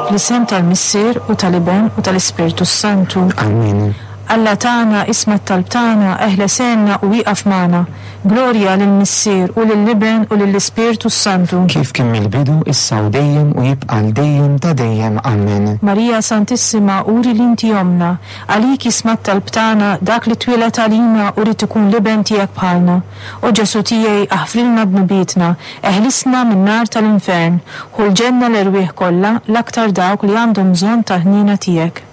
Fl-isem tal-Missier u tal-Iben u tal-Ispirtu s-Santu. Amen. Alla tagħna, isma' t-talb tagħna, eħles għinna u ieqaf magħna. Glorja lill-Missier u lill-Iben u lill-Ispirtu s-Santu. Kif kien mill-bidu, issa u dejjem u jibqa' għal dejjem ta' dejjem. Amen. Marija Santissima, uri li inti ommna. Għalik jisma' t-talb tagħna, dak li twieled għalina u ried ikun l-Iben tiegħek bħalna. O Ġesù tiegħi, aħfrilna dnubietna, eħlisna min-nar tal-infern, ħu l-ġenna l-erwieħ kollha, l-aktar dawk li għandhom bżonn tal-ħniena tiegħek.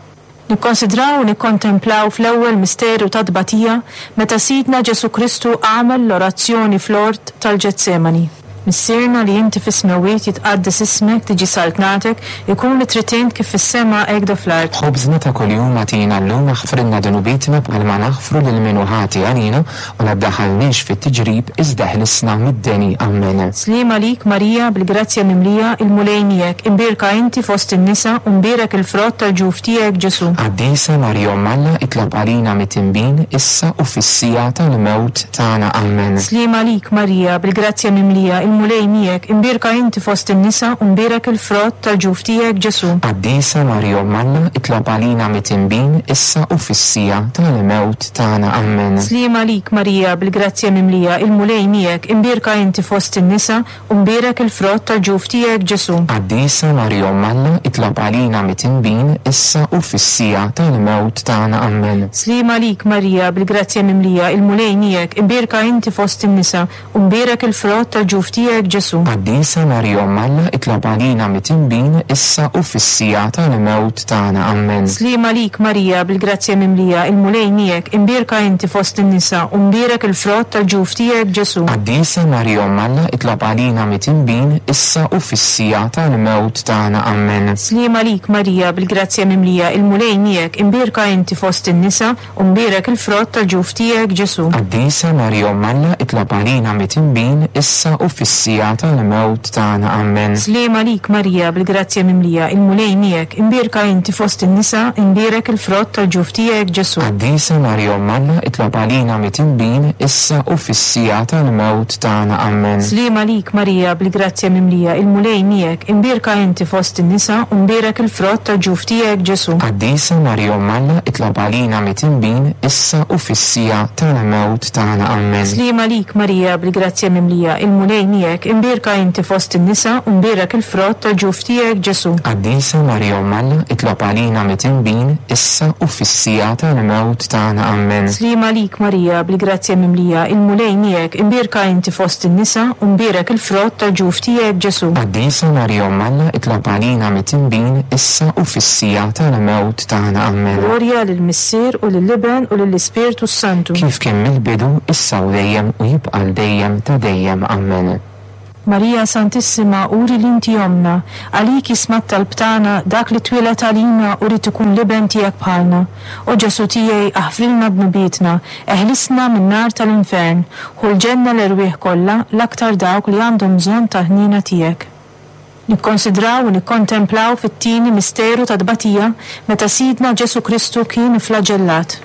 Nikkonsidraw u nikkontemplaw fl-ewwel misteru tat-tbatija meta Sidna Ġesù Kristu għamel l-orazzjoni fl-ort tal-Ġetsemani. Missierna li inti fis-smewwiet jitqaddes ismek, tiġi saltnatek, ikun li trid int kif fis-sema hekk do fl-art. Ħobżna ta' kuljum agħtina llum aħfrilna dnubietna bħalma naħfru lil min hu ħati għalina u la ddaħħalniex fit-tiġrib iżda eħlisna mid-deni. Ammen. Sliem għalik Marija bil-grazzja mimlija, il-Mulej miegħek, imbierka inti fost in-nisa u mbierek il-frott tal-ġuf tiegħek Ġesù. Qaddisa Marija Omm Alla itlob għalina mitinbin issa u fis-siegħa tal-mewt tagħna. Ammen. Sliem għalik Marija bil-grazzja mimlija, il-Mulej miegħek, imbierka inti fost in-nisa u mbierek il-frott tal-ġuf tiegħek Ġesù. Qaddisa Marija Omm Alla itlob għalina mitinbin issa u fis-siegħa tal-mewt tagħna. Ammen. Sliem għalik Marija bil-grazzja mimlija, il-Mulej miegħek, imbierka inti fost in-nisa u mbierek il-frott tal-ġuf tiegħek Ġesù. Qaddisa Marija Omm Alla itlob għalina mitinbin issa u fis-siegħa tal-mewt tagħna. Ammen. Sliem għalik Marija bil-grazzja mimlija, il-Mulej miegħek, imbierka inti fost in-nisa u mbierek il-frott tal-ġuf tiegħek Ġesù. Qaddisa Marija Omm Alla itlob għalina mitinbin issa u fis-siegħa tal-mewt tagħna. Ammen. Sliem għalik Marija bil-grazzja mimlija, il-Mulej miegħek, imbierka inti fost in-nisa u mbierek il-frott tal-ġuf tiegħek Ġesù. Qaddisa Marija Omm Alla itlob għalina mitinbin issa u fis-siegħa tal-mewt tagħna. Ammen. Sliem għalik Marija bil-grazzja mimlija, il-Mulej miegħek, imbierka inti fost in-nisa u mbierek il-frott tal-ġuf tiegħek Ġesù. Qaddisa Marija Omm Alla itlob għalina mitinbin issa u fis-siegħa tal-mewt tagħna. Ammen. Sliem għalik Marija bil-grazzja mimlija, il-Mulej miegħek, imbierka inti fost in-nisa, imbierek il-frott tal-ġuf tiegħek Ġesù. Qaddisa Marija Omm Alla itlob għalina mitinbin issa u fis-siegħa tal-mewt tagħna. Ammen. Sliem għalik Marija bil-grazzja mimlija, il-Mulej miegħek, imbierka inti fost in-nisa u mbierek il-frott tal-ġuf tiegħek Ġesù. Qaddisa Marija Omm Alla itlob għalina mitinbin issa u fis-siegħa tal-mewt tagħna. Ammen. Sliem għalik Marija bil-grazzja mimlija, il-Mulej miegħek, imbierka inti fost in-nisa u mbierek il-frott tal-ġuf tiegħek Ġesù. Qaddisa Marija Omm Alla itlob għalina mitinbin issa u fis-siegħa tal-mewt tagħna. Ammen. Sliem għalik Marija bil-grazzja mimlija, il-Mulej miegħek, imbierka inti fost in-nisa u mbierek il-frott tal-ġuf tiegħek Ġesù. Qaddisa Marija Omm Alla itlob għalina mitinbin issa u fis-siegħa tal-mewt tagħna. Ammen. Glorja lill-Missier u lill-Iben u lill-Ispirtu s-Santu. Kif kien mill-bidu, issa u dejjem u jibqa' għal dejjem ta' dejjem. Ammen. Marija Santissima, uri li inti ommna, għalik jisma' t-talb tagħna, dak li twieled għalina u ried ikun l-Iben tiegħek bħalna. O Ġesù tiegħi, aħfrilna dnubietna, eħlisna min-nar tal-infern, ħu l-ġenna l-erwieħ kollha, l-aktar dawk li għandhom bżonn tal-ħniena tiegħek. Nikkonsidraw u nikkontemplaw fit-tieni misteru tat-tbatija meta Sidna Ġesù Kristu kien ifflaġellat.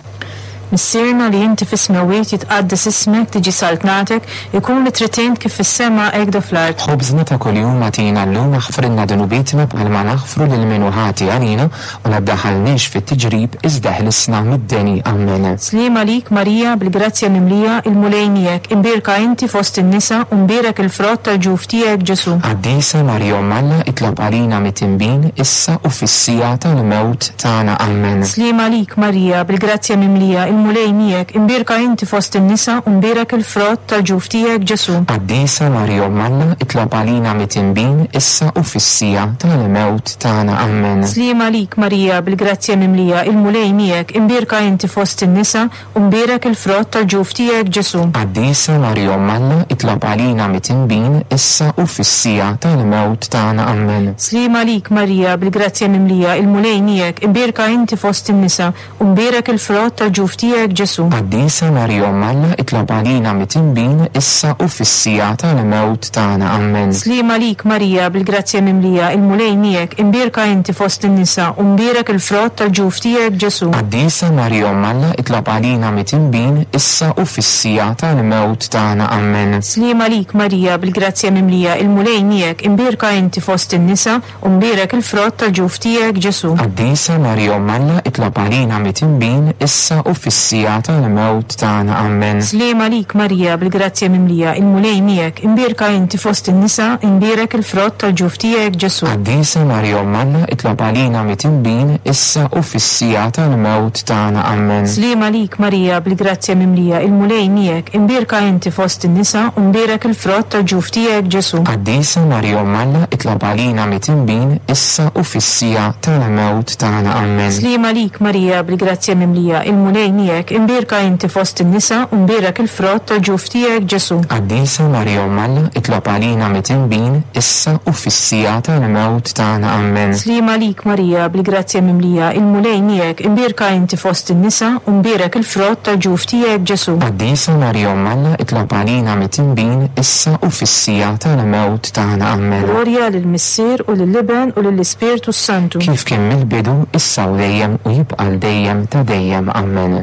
Missierna li inti fis-smewwiet jitqaddes ismek, tiġi saltnatek, ikun li trid int kif fis-sema hekk do fl-art. Ħobżna ta' kuljum agħtina llum aħfrilna dnubietna bħalma naħfru lil min hu ħati għalina u la ddaħħalniex fit-tiġrib iżda eħlisna mid-deni. Ammen. Sliem għalik Marija bil-grazzja mimlija, il-Mulej miegħek, imbierka inti fost in-nisa u mbierek il-frott tal-ġuf tiegħek Ġesù. Qaddisa Marija Omm Alla itlob għalina mitinbin issa u fis-siegħa tal-mewt tagħna. Ammen. Sliem għalik Marija bil-grazzja mimlija, il-Mulej miegħek, imbierka inti fost in-nisa u mbierek il-frott tal-ġuf tiegħek Ġesù. Qaddisa Marija Omm Alla itlob għalina mitinbin issa u fis-siegħa tal-mewt tagħna. Ammen. Sliem għalik Marija bil-grazzja mimlija, il-Mulej miegħek, imbierka inti fost in-nisa u mbierek il-frott tal-ġuf tiegħek Ġesù. Qaddisa Marija Omm Alla itlob għalina mitinbin issa u fis-siegħa tal-mewt tagħna. Ammen. Sliem għalik Marija bil-grazzja mimlija, il-Mulej miegħek, imbierka inti fost in-nisa u mbierek il-frott tal-ġuf tiegħek. tiegħek Ġesù. Qaddisa Marija Omm Alla, itlob għalina mitinbin, issa u fis-siegħa tal-mewt tagħna. Ammen. Sliem għalik Marija, bil-grazzja mimlija, il-Mulej miegħek, imbierka inti fost in-nisa, u mbierek il-frott tal-ġuf tiegħek Ġesù. Qaddisa Marija Omm Alla, itlob għalina mitinbin, issa u fis-siegħa tal-mewt tagħna. Ammen. Sliem għalik Marija, bil-grazzja mimlija, il-Mulej miegħek, imbierka inti fost in-nisa, u mbierek il-frott tal-ġuf tiegħek Ġesù. Qaddisa Marija Omm Alla, itlob għalina mitinbin, issa u fis-siegħa tal-mewt tagħna. Ammen. Sliem għalik Marija, bil-grazzja mimlija, il-Mulej miegħek, imbierka inti fost in-nisa, imbierek il-frott tal-ġuf tiegħek Ġesù. Qaddisa Marija Omm Alla, itlob għalina mitinbin, issa u fis-siegħa tal-mewt tagħna. Ammen. Sliem għalik Marija, bil-grazzja mimlija, il-Mulej miegħek, imbierka inti fost in-nisa, u mbierek il-frott tal-ġuf tiegħek Ġesù. Qaddisa Marija Omm Alla, itlob għalina mitinbin, issa u fis-siegħa tal-mewt tagħna. Ammen. Sliem għalik Marija, bil-grazzja mimlija, il-Mulej miegħek, imbierka inti fost in-nisa, u mbierek il-frott tal-ġuf tiegħek Ġesù. Qaddisa Marija Omm Alla, itlob għalina mitinbin, issa u fis-siegħa tal-mewt tagħna. Ammen. Sliem għalik Marija, bil-grazzja mimlija, il-Mulej miegħek, imbierka inti fost in-nisa, u mbierek il-frott tal-ġuf tiegħek Ġesù. Qaddisa Marija Omm Alla, itlob għalina mitinbin, issa u fis-siegħa tal-mewt tagħna. Ammen. Glorja lill-Missier u lill-Iben u lill-Ispirtu s-Santu. Kif kien mill-bidu, issa u dejjem, u jibqa' għal dejjem ta' dejjem. Ammen.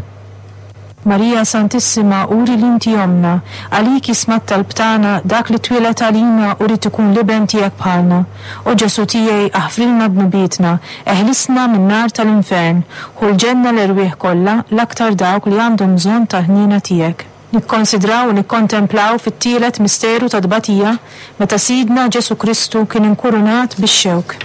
Marija Santissima, uri li inti ommna, għalik jisma' t-talb tagħna, dak li twieled għalina u ried ikun l-Iben tiegħek bħalna. O Ġesù tiegħi, aħfrilna dnubietna, eħlisna min-nar tal-infern, ħu l-ġenna l-erwieħ kollha, l-aktar dawk li għandhom bżonn tal-ħniena tiegħek. Nikkonsidraw u nikkontemplaw fit-tielet misteru ta' tbatija meta Sidna Ġesù Kristu kien inkurunat bix-xewk.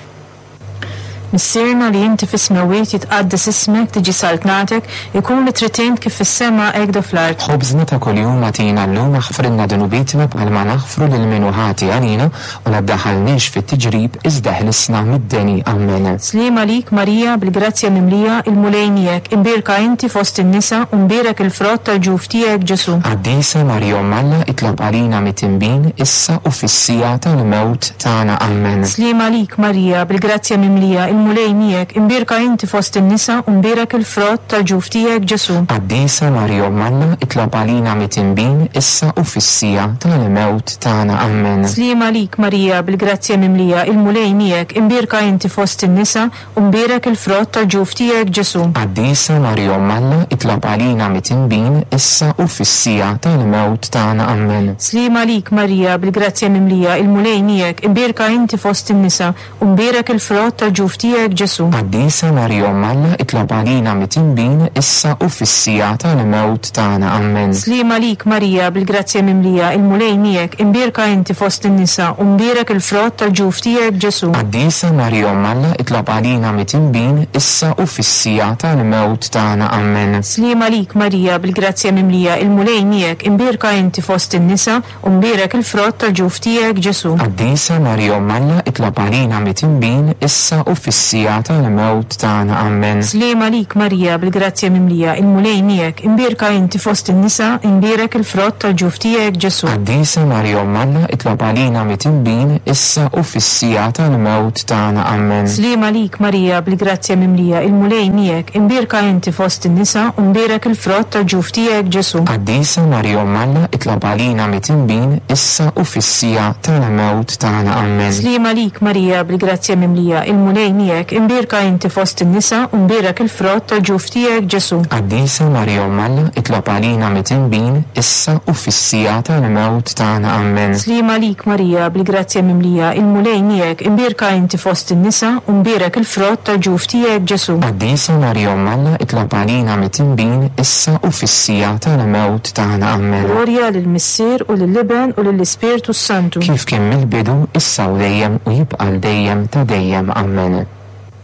Missierna li inti fis-smewwiet jitqaddes ismek, tiġi saltnatek, ikun li trid int kif fis-sema hekk do fl-art. Ħobżna ta' kuljum agħtina llum, aħfrilna dnubietna bħalma naħfru lil min hu ħati għalina, u la ddaħħalniex fit-tiġrib, iżda eħlisna mid-deni. Ammen. Sliem għalik Marija, bil-grazzja mimlija, il-Mulej miegħek, imbierka inti fost in-nisa, u mbierek il-frott tal-ġuf tiegħek Ġesù. Qaddisa Marija Omm Alla, itlob għalina mitinbin, issa u fis-siegħa tal-mewt tagħna. Ammen. Sliem għalik Marija, bil-grazzja mimlija, il-Mulej miegħek, imbierka inti fost in-nisa u mbierek il-frott tal-ġuf tiegħek Ġesù. Qaddisa Marija Omm Alla, itlob għalina mitinbin, issa u fis-siegħa tal-mewt tagħna. Ammen. Sliem għalik Marija, bil-grazzja mimlija, il-Mulej miegħek, imbierka inti fost in-nisa u mbierek il-frott tal-ġuf tiegħek Ġesù. Qaddisa Marija Omm Alla, itlob għalina mitinbin, issa u fis-siegħa tal-mewt tagħna. Ammen. Sliem għalik Marija, bil-grazzja mimlija, il-Mulej miegħek, imbierka inti fost in-nisa u mbierek il-frott tal-ġuf tiegħek Ġesù. Qaddisa Marija Omm Alla, itlob għalina mitinbin, issa u fis-siegħa tal-mewt tagħna. Ammen. Sliem għalik Marija, bil-grazzja mimlija, il-Mulej miegħek, imbierka inti fost in-nisa u mbierek il-frott tal-ġuf tiegħek Ġesù. Qaddisa Marija Omm Alla, itlob għalina mitinbin, issa u fis-siegħa tal-mewt tagħna. Ammen. Sliem għalik Marija, bil-grazzja mimlija, il-Mulej miegħek, imbierka inti fost in-nisa u mbierek il-frott tal-ġuf tiegħek Ġesù. Qaddisa Marija Omm Alla, itlob għalina mitinbin, issa u fis-siegħa tal-mewt tagħna. Ammen. Sliem għalik Marija, bil-grazzja mimlija, il-Mulej miegħek, imbierka inti fost in-nisa, imbierek il-frott tal-ġuf tiegħek Ġesù. Qaddisa Marija Omm Alla, itlob għalina mitinbin, issa u fis-siegħa tal-mewt tagħna. Ammen. Sliem għalik Marija, bil-grazzja mimlija, il-Mulej miegħek, imbierka inti fost in-nisa, u mbierek il-frott tal-ġuf tiegħek Ġesù. Qaddisa Marija Omm Alla, itlob għalina mitinbin, issa u fis-siegħa tal-mewt tagħna. Ammen. Sliem għalik Marija, bil-grazzja mimlija, il-Mulej miegħek, imbierka inti fost in-nisa, u mbierek il-frott tal-ġuf tiegħek Ġesù. Qaddisa Marija Omm Alla, itlob għalina mitinbin, issa u fis-siegħa tal-mewt tagħna. Ammen. Sliem għalik Marija, bil-grazzja mimlija, il-Mulej miegħek, imbierka inti fost in-nisa, u mbierek il-frott tal-ġuf tiegħek Ġesù. Qaddisa Marija Omm Alla, itlob għalina mitinbin, issa u fis-siegħa tal-mewt tagħna. Ammen. Glorja lill-Missier u lill-Iben u lill-Ispirtu s-Santu. Kif kien mill-bidu, issa u dejjem, u jibqa' għal dejjem ta' dejjem. Ammen.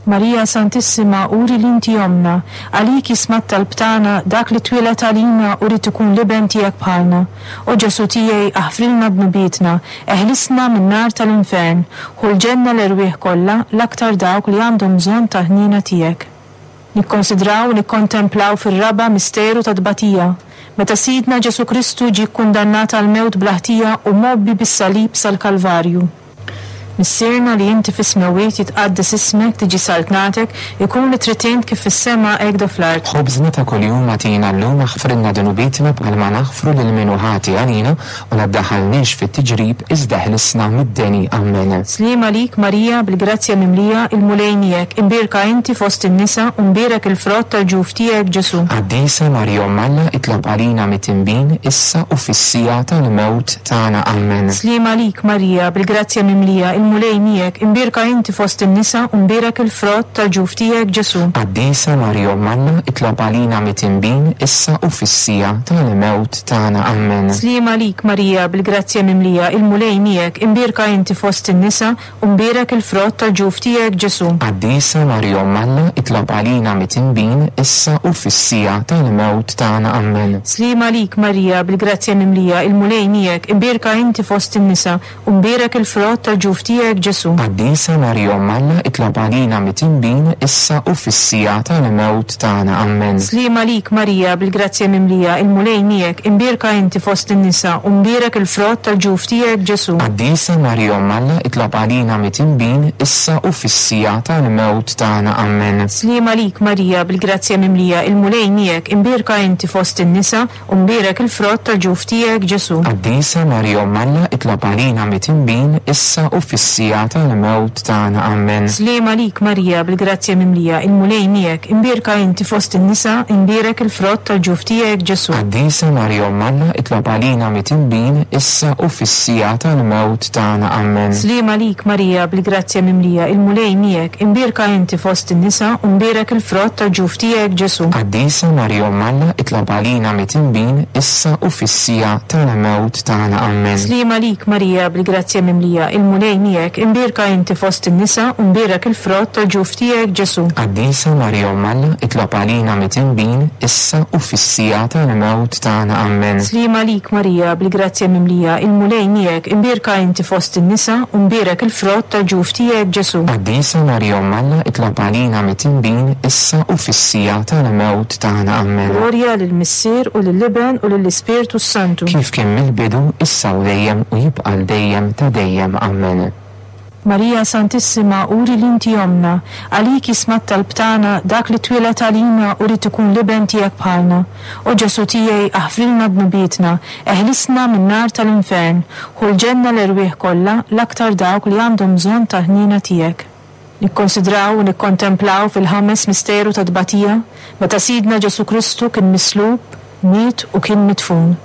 Marija Santissima, uri li inti ommna, għalik jisma' t-talb tagħna, dak li twieled għalina u ried ikun l-Iben tiegħek bħalna. O Ġesù tiegħi, aħfrilna dnubietna, eħlisna min-nar tal-infern, ħu l-ġenna l-erwieħ kollha, l-aktar dawk li għandhom bżonn tal-ħniena tiegħek. Nikkonsidraw u nikkontemplaw fir-raba' misteru ta' tbatija, meta Sidna Ġesù Kristu ġie kkundannat għall-mewt bla ħtija u mgħobbi bis-salib sal-Kalvarju. Missierna li inti fis-smewwiet jitqaddes ismek, tiġi saltnatek, ikun li trid int kif fis-sema hekk do fl-art. Ħobżna ta' kuljum agħtina llum aħfrilna dnubietna bħalma naħfru lil min hu ħati għalina u la ddaħħalniex fit-tiġrib iżda eħlisna mid-deni. Ammen. Sliem għalik Marija bil-grazzja mimlija il-Mulej miegħek, imbierka inti fost in-nisa u mbierek il-frott tal-ġuf tiegħek Ġesù. Qaddisa Marija Omm Alla itlob għalina mitinbin issa u fis-siegħa tal-mewt tagħna. Ammen. Sliem għalik Marija bil-grazzja mimlija il-Mulej miegħek, imbierka inti fost in-nisa u mbierek il-frott tal-ġuf tiegħek Ġesù. Qaddisa Marija Omm Alla itlob għalina mitinbin issa u fis-siegħa tal-mewt tagħna. Ammen. Sliem għalik Marija bil-grazzja mimlija il-Mulej miegħek, imbierka inti fost in-nisa u mbierek il-frott tal-ġuf tiegħek Ġesù. Qaddisa Marija Omm Alla itlob għalina mitinbin issa u fis-siegħa tal-mewt tagħna. Ammen. Sliem għalik Marija bil-grazzja mimlija il-Mulej miegħek, imbierka inti fost in-nisa u mbierek il-frott tal-ġuf tiegħek Ġesù. Qaddisa Marija Omm Alla itlob għalina mitinbin issa u fis-siegħa tal-mewt tagħna. Ammen. Sliem għalik Marija bil-grazzja mimlija il-Mulej miegħek, imbierka inti fost in-nisa u mbierek il-frott tal-ġuf tiegħek Ġesù. Qaddisa Marija Omm Alla itlob għalina mitinbin issa u fis-siegħa tal-mewt tagħna. Ammen. Sliem għalik Marija bil-grazzja mimlija il-Mulej miegħek, imbierka inti fost in-nisa u mbierek il-frott tal-ġuf tiegħek Ġesù. Qaddisa Marija Omm Alla itlob għalina mitinbin issa u fis-siegħa tal-mewt tagħna. Ammen. Sliem għalik Marija bil-grazzja mimlija il-Mulej miegħek, imbierka inti fost in-nisa, imbierek il-frott tal-ġuf tiegħek Ġesù. Qaddisa Marija Omm Alla itlob għalina mitinbin issa u fis-siegħa tal-mewt tagħna. Ammen. Sliem għalik Marija bil-grazzja mimlija il-Mulej miegħek, imbierka inti fost in-nisa u mbierek il-frott tal-ġuf tiegħek Ġesù. Qaddisa Marija Omm Alla itlob għalina mitinbin issa u fis-siegħa tal-mewt tagħna. Ammen. Sliem għalik Marija bil-grazzja mimlija il-Mulej miegħek, imbierka inti fost in-nisa u mbierek il-frott tal-ġuf tiegħek Ġesù. Qaddisa Marija Omm Alla itlob għalina mitinbin issa u fis-siegħa tal-mewt tagħna. Ammen. Sliem għalik Marija bil-grazzja mimlija il-Mulej miegħek, imbierka inti fost in-nisa u mbierek il-frott tal-ġuf tiegħek Ġesù. Qaddisa Marija Omm Alla itlob għalina mitinbin issa u fis-siegħa tal-mewt tagħna. Ammen. Glorja lill-Missier u lill-Iben u lill-Ispirtu s-Santu. Kif kien mill-bidu, issa u dejjem u jibqa' għal dejjem ta' dejjem. Ammen. Marija Santissima uri li inti ommna, għalik jisma' t-talb tagħna dak li twieled għalina u ried ikun l-Iben tiegħek bħalna. O Ġesù tiegħi aħfrilna dnubietna, eħlisna min-nar tal-infern, ħu l-ġenna l-erwieħ kollha, l-aktar dawk li għandhom bżonn tal-ħniena tiegħek. Nikkonsidraw u nikkontemplaw fil-ħames misteru tat-tbatija, meta Sidna Ġesù Kristu kien mislub, miet u kien midfun.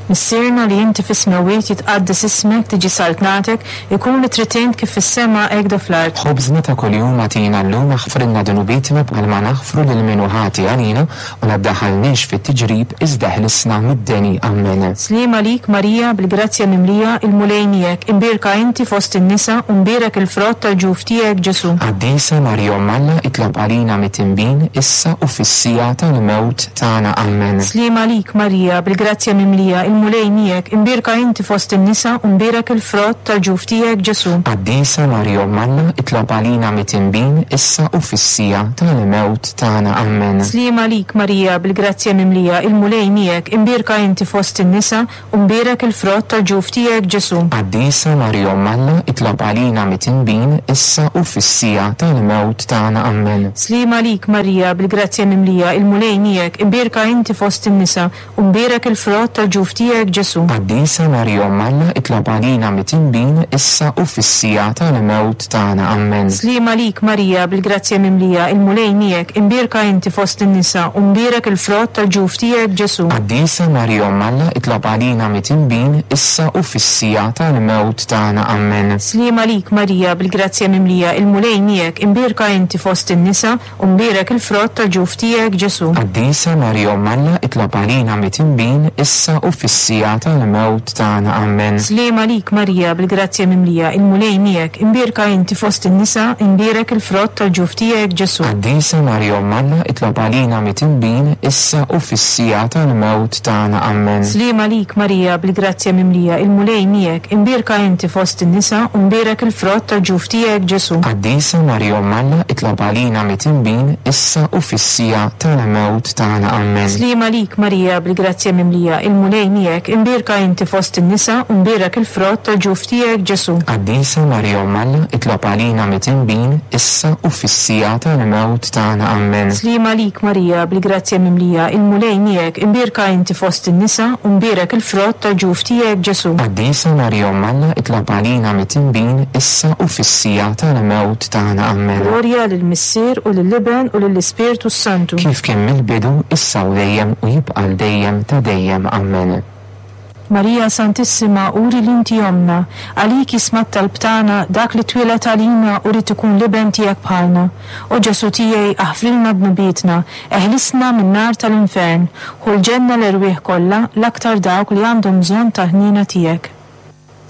Missierna li inti fis-smewwiet jitqaddes ismek, tiġi saltnatek, ikun li trid int kif fis-sema hekk do fl-art. Ħobżna ta' kuljum agħtina llum aħfrilna dnubietna bħalma naħfru lil min hu ħati għalina u la ddaħħalniex fit-tiġrib iżda eħlisna mid-deni. Ammen. Sliem għalik Marija bil-grazzja mimlija il-Mulej miegħek, imbierka inti fost in-nisa u mbierek il-frott tal-ġuf tiegħek Ġesù. Qaddisa Marija Omm Alla itlob għalina mitinbin issa u fis-siegħa tal-mewt tagħna. Ammen. Sliem għalik Marija bil-grazzja mimlija il-Mulej miegħek, imbierka inti fost in-nisa u mbierek il-frott tal-ġuf tiegħek Ġesù. Qaddisa Marija Omm Alla itlob għalina mitinbin issa u fis-siegħa tal-mewt tagħna. Ammen. Sliem għalik Marija bil-grazzja mimlija il-Mulej miegħek, imbierka inti fost in-nisa u mbierek il-frott tal-ġuf tiegħek Ġesù. Qaddisa Marija Omm Alla itlob għalina mitinbin issa u fis-siegħa tal-mewt tagħna. Ammen. Sliem għalik Marija bil-grazzja mimlija il-Mulej miegħek, imbierka inti fost in-nisa u mbierek il-frott tal-ġuf tiegħek Ġesù. Qaddisa Marija Omm Alla itlob għalina mitinbin issa u fis-siegħa tal-mewt tagħna. Ammen. Sliem għalik Marija bil-grazzja mimlija il-Mulej miegħek, imbierka inti fost in-nisa u mbierek il-frott tal-ġuf tiegħek Ġesù. Qaddisa Marija Omm Alla itlob għalina mitinbin issa u fis-siegħa tal-mewt tagħna. Ammen. Sliem għalik Marija bil-grazzja mimlija il-Mulej miegħek, imbierka inti fost in-nisa u mbierek il-frott tal-ġuf tiegħek Ġesù. Qaddisa Marija Omm Alla itlob għalina mitinbin issa u fis-siegħa tal-mewt tagħna. Ammen. Sliem għalik Marija bil-grazzja mimlija il-Mulej miegħek, imbierka inti fost in-nisa, imbierek il-frott tal-ġuf tiegħek Ġesù. Qaddisa Marija Omm Alla itlob għalina mitinbin issa u fis-siegħa tal-mewt tagħna. Ammen. Sliem għalik Marija bil-grazzja mimlija il-Mulej miegħek, imbierka inti fost in-nisa u mbierek il-frott tal-ġuf tiegħek Ġesù. Qaddisa Marija Omm Alla itlob għalina mitinbin issa u fis-siegħa tal-mewt tagħna. Ammen. Sliem għalik Marija bil-grazzja mimlija il-Mulej miegħek. miegħek, imbierka inti fost in-nisa u mbierek il-frott tal-ġuf tiegħek Ġesù. Qaddisa Marija Omm Alla, itlob għalina mitinbin, issa u fis-siegħa tal-mewt tagħna. Ammen. Sliem għalik Marija, bil-grazzja mimlija, il-Mulej miegħek, imbierka inti fost in-nisa u mbierek il-frott tal-ġuf tiegħek Ġesù. Qaddisa Marija Omm Alla, itlob għalina mitinbin, issa u fis-siegħa tal-mewt tagħna. Ammen. Glorja lill-Missier u lill-Iben u lill-Ispirtu s-Santu. Kif kien mill-bidu, issa u dejjem u jibqa' għal dejjem ta' dejjem. Ammen. Marija Santissima uri li inti ommna, għalik jisma' t-talb tagħna dak li twieled għalina u ried ikun l-Iben tiegħek bħalna. O Ġesù tiegħi aħfrilna dnubietna, eħlisna min-nar tal-infern, ħu l-ġenna l-erwieħ kollha, l-aktar dawk li għandhom bżonn tal-ħniena tiegħek.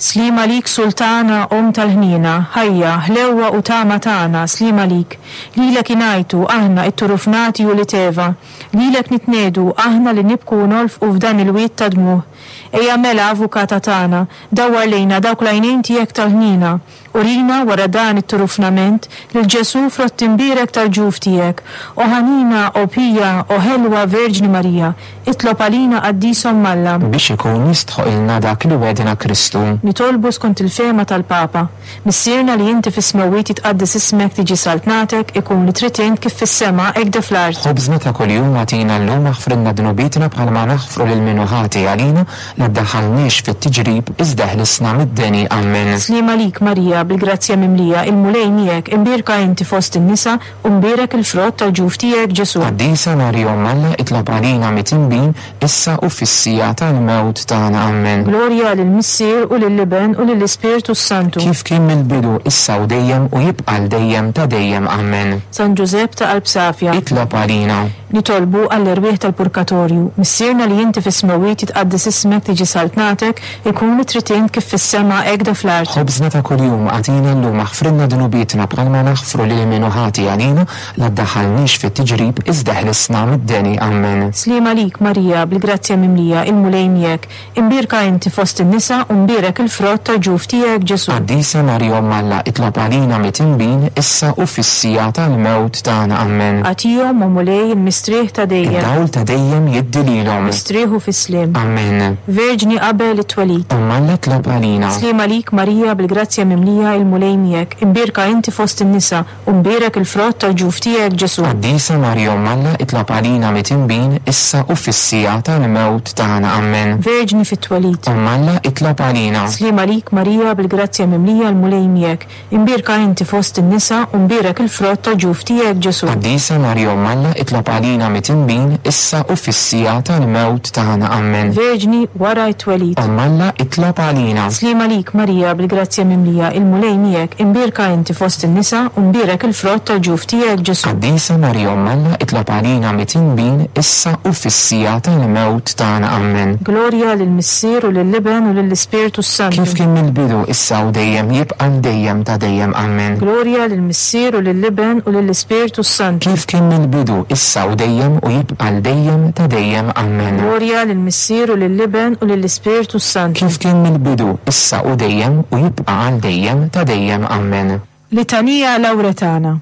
Sliem għalik Sultana, Omm tal-ħniena, ħajja, ħlewwa u tama tagħna, sliem għalik. Lilek ingħajtu, aħna, it-turufnati ulied Eva. Lilek nitniegħdu, aħna li nibku u nolfqu f'dan il-wied ta' dmugħ. Ejja mela, Avukata tagħna, dawwar lejna dawk l-għajnejn tiegħek tal-ħniena. Urina, wara dan it-turufnament, lil Ġesù frott imbierek tal-ġuf tiegħek. O ħanina, o pija, o ħelwa Verġni Marija, itlob għalina Qaddis Omm Alla. Biex ikun jistħoqilna dak li wegħdna Kristu. Nitolbu skont il-fehma tal-Papa. Missierna li inti fis-smewwiet jitqaddes ismek tiġi saltnatek, ikun li trid int kif fis-sema hekk de fl-art. Ħobżna ta' kuljum agħtina llum aħfrilna dnubietna bħalma naħfru lil min hu ħati għalina, La ddaħħalniex fit-tiġrib, iżda eħlisna mid-deni. Ammen. Sliem għalik, Marija, bil-grazzja mimlija, il-Mulej miegħek, imbierka inti fost in-nisa, u mbierek il-frott tal-ġuf tiegħek, Ġesù. Qaddisa Marija Omm Alla, itlob għalina mitinbin, issa u fis-siegħa tal-mewt tagħna. Ammen. Glorja lill-Missier u lill-Iben u lill-Ispirtu s-Santu. Kif kien mill-bidu, issa u dejjem, u jibqa' għal dejjem ta' dejjem. Ammen. San Ġużepp ta' qalb safja. Itlob għalina. Nitolbu għall-erwieħ tal-purkatorju. Missierna li inti fis-smewwiet jitqaddes ismek tiġi saltnatek, ikun li trid int kif fis-sema hekk da fl-art. Ħobżna ta' kuljum agħtina llum aħfrilna dnubietna bħalma naħfru lil min hu ħati għalina, la ddaħħalniex fit-tiġrib iżda eħlisna mid-deni. Ammen. Sliem għalik Marija, bil-grazzja mimlija, il-Mulej miegħek. Imbierka inti fost in-nisa u mbierek il-frott tal-ġuf tiegħek, Ġesù. Qaddisa Marija Omm Alla, itlob għalina mitinbin, issa u fis-siegħa tal-mewt tagħna. Ammen. Agħtihom, o Mulej, il-mistrieħ ta' dejjem. Id-dawl ta' dejjem jiddi lilhom. Istrieħu fis-sliem. Ammen. Verġni qabel it-twelid. Omm Alla itlob għalina. Sliem għalik Marija bil-grazzja mimlija, il-Mulej miegħek. Imbierka inti fost in-nisa U mbierek il-frott tal-ġuf tiegħek, Ġesù. Qaddisa Marija Omm Alla, itlob għalina mitinbin, issa u fis-siegħa tal-mewt tagħna. Ammen. Verġni fit-twelid. Omm Alla, itlob għalina. Sliem għalik Marija, bil-grazzja mimlija l-Mulej miegħek. Imbierka inti fost in-nisa, u mbierek il-frott tal-ġuf tiegħek, Ġesù. Qaddisa Marija Omm Alla, itlob għalina mitinbin, issa u fis-siegħa tal-mewt tagħna. Ammen. Verġni wara t-twelid. Omm Alla, itlob għalina. Sliem għalik Marija, bil-grazzja mimlija, il-Mulej miegħek. Imbierka inti fost in-nisa, u mbierek il-frott tal-ġuf tiegħek, Ġesù. Qaddisa Marija Omm Alla, itlob għalina mitinbin, issa u fis-siegħa tal-mewt tagħna. Ammen. Glorja lill-Missier u lill-Iben u lill-Ispirtu s-Santu. Kif kien mill-bidu, issa u dejjem, jibqa' għal dejjem ta' dejjem. Ammen. Glorja lill-Missier u lill-Iben u lill-Ispirtu s-Santu. Kif kien mill-bidu, issa u dejjem, u jibqa' għal dejjem ta' dejjem. Ammen. Glorja lill-Missier u lill-Iben u lill-Ispirtu s-Santu. Kif kien mill-bidu, issa u dejjem, u jibqa' għal dejjem ta' dejjem. Ammen. Litanija Lawretana.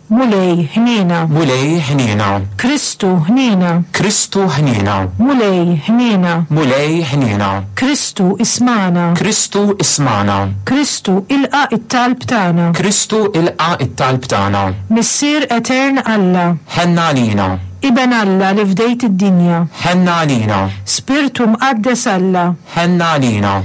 Mulej, ħniena. Mulej, ħniena. Kristu, ħniena. Kristu, ħniena. Mulej, ħniena. Mulej, ħniena. Kristu, ismagħna. Kristu, ismagħna. Kristu, ilqa' t-talb tagħna. Kristu, ilqa' t-talb tagħna. Missier etern Alla. Ħenn għalina. Iben Alla li fdejt id-dinja. Ħenn għalina. Spirtu Mqaddes Alla. Ħenn għalina.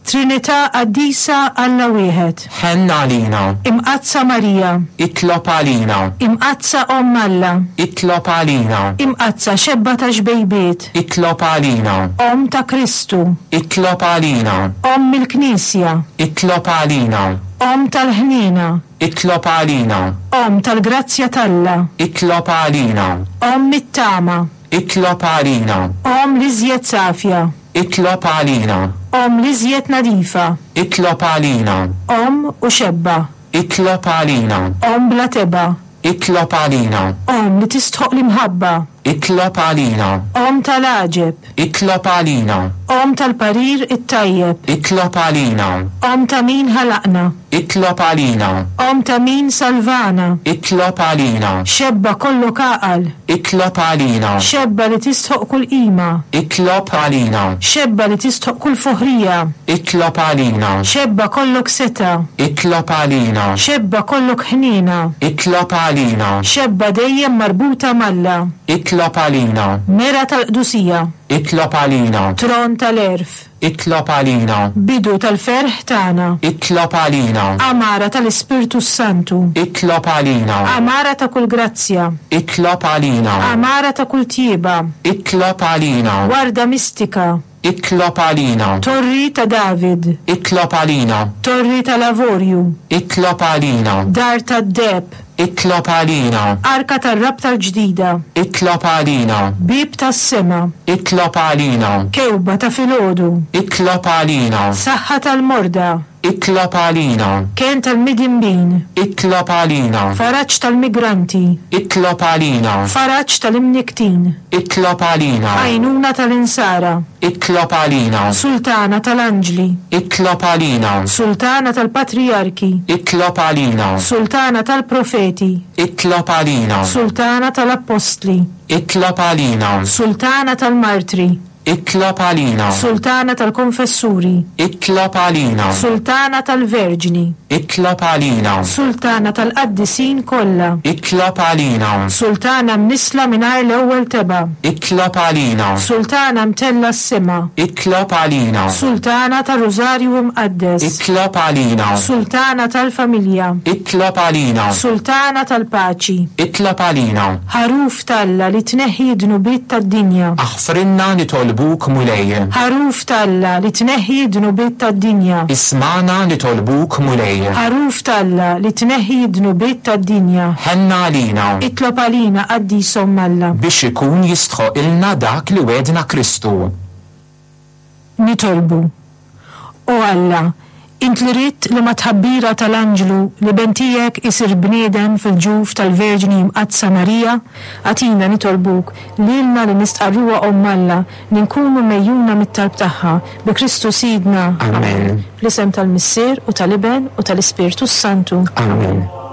Trinità Qaddisa Alla wieħed. Ħenn għalina. Imqaddsa Marija. Itlob għalina. Imqaddsa Omm Alla. Itlob għalina. Imqaddsa Xebba ta' xbejbiet. Itlob għalina. Omm ta' Kristu. Itlob għalina. Omm il-Knisja. Itlob għalina. Omm tal-ħniena. Itlob għalina. Omm tal-grazzja t'Alla. Itlob għalina. Omm it-tama. Itlob għalina. Omm l-iżjed safja. Itlob għalina. Omm l-iżjed nadifa. Itlob għalina. Omm u xebba. Itlob għalina. Omm bla tebgħa. Itlob għalina. Omm li tistħoqq l-imħabba. Itlob għalina. Omm tal-għaġeb. Itlob għalina. Omm tal-parir it-tajjeb. Itlob għalina. Omm ta' min ħalaqna. Itlob għalina. Omm ta' min salvana. Itlob għalina. Xebba kollok għaqal. Itlob għalina. Xebba li tistħoqq kull qima. Itlob għalina. Xebba li tistħoqq kull foħrija. Itlob għalina. Xebba kollok setgħa. Itlob għalina. Xebba kollok ħniena. Itlob għalina. Xebba dejjem marbuta m'Alla. Itlob għalina. Mera tal-qdusija. Itlob għalina. Tron tal-għerf. Itlob għalina. Bidu tal-ferħ tagħna. Itlob għalina. Għamara tal-Ispirtu s-Santu. Itlob għalina. Għamara ta' kull grazzja. Itlob għalina. Għamara ta' kull tjieba. Itlob għalina. Warda mistika. Itlob għalina. Torri ta' David. Itlob għalina. Torri tal-avorju. Itlob għalina. Dar tad-deheb. Itlob għalina. Arka tar-rabta l-ġdida. Itlob għalina. Bieb tas-sema. Itlob għalina. Kewba ta' filgħodu. Itlob għalina. Saħħa tal-morda. Itlob għalina. Kenn tal-midinbin. Itlob għalina. Faraġ tal-migranti. Itlob għalina. Faraġ tal-imnikktin. Itlob għalina. Għajnuna tal-insara. Itlob għalina. Sultana tal-anġli. Itlob għalina. Sultana tal-patrijarki. Itlob għalina. Sultana tal-profeti. Itlob għalina. Sultana tal-appostli. Itlob għalina. Sultana tal-martri. Itlob għalina. Sultana tal-konfessuri. Itlob għalina. Sultana tal-verġni. Itlob għalina. Sultana tal-qaddisin kollha. Itlob għalina. Sultana mnissla mingħajr l-ewwel tebgħa. Itlob għalina. Sultana mtellgħa s-sema. Itlob għalina. Sultana tar-Rużarju Imqaddes. Itlob għalina. Sultana tal-familja. Itlob għalina. Sultana tal-paċi. Itlob għalina. Ħaruf t'Alla li tneħħi d-dnubiet tad-dinja. Aħfrilna nitolbuk Mulej. Ħaruf t'Alla li tneħħi d-dnubiet tad-dinja. Ismagħna nitolbuk Mulej. Ħaruf t'Alla li tneħħi d-dnubiet tad-dinja. Ħenna għalina. Itlob għalina Qaddis Omm Alla. Biex ikun jistħoqilna dak li wegħdna Kristu. Nitolbu. O Alla, Int li ridt li mat-tħabbira tal-anġlu l-Iben tiegħek isir bniedem fil-ġuf tal-Verġni Mqaddsa Marija, agħtina nitolbuk, lilna li nistqarruha Omm Alla, li nkunu megħjuna mit-talb tagħha, bi Kristu Sidna. Amen. Fl-isem tal-Missier u tal-Iben u tal-Ispirtu s-Santu. Amen.